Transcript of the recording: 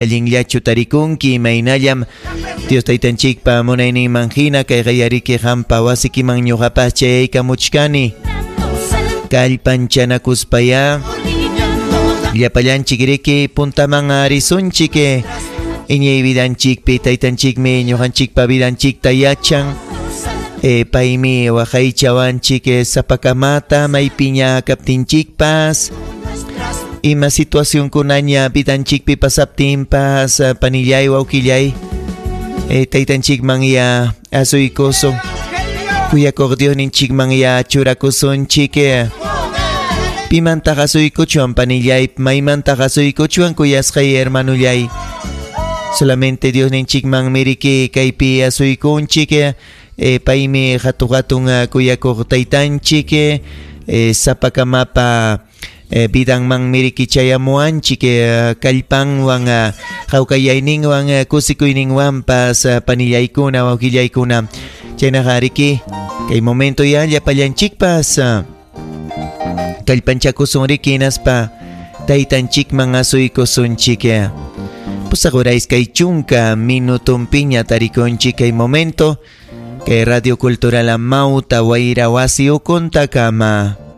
Allinllachu tarikunki imaynallam Dios Taytanchikpa munayninman hina kay qayariki qampa wasikiman ñuqapas chayaykamuchkani. Kallpanchanakuspayá llapallanchik riki puntaman risunchik iñiy vidanchikpi taytanchikmi ñuqanchikpa vidanchikta yachan. E, paymi waqaychawanchik sapakamata maypiña kaptinchikpas. Ima situacionkunaña vidanchikpi pasaptinpas panillay wawqillay e, taytanchikman ya asuykusun kuyakuq Diosninchikman ya churakusunchik. Pimantaq asuykuchwan panillay maymantaq asuykuchwan kuyasqay hermanullay solamente Diosninchikman miriki kaypi asuykunchik e, paymi hatu hatun kuyakuq taytanchik e, sapakamapa e, vidanman miriki chayamuwanchik e, kallpanwan hawkayayninwan kusikuyninwanpas panillaykuna wawqillaykuna chaynaqa riki kay momento ya llapallanchikpas kallpanchakusun riki hinaspa taytanchikman asuykusunchik. Pusaq hora iskay chunka minutunpiña tarikunchik kay momento kay Radio Cultural Amauta Wayra wasi ukuntakama.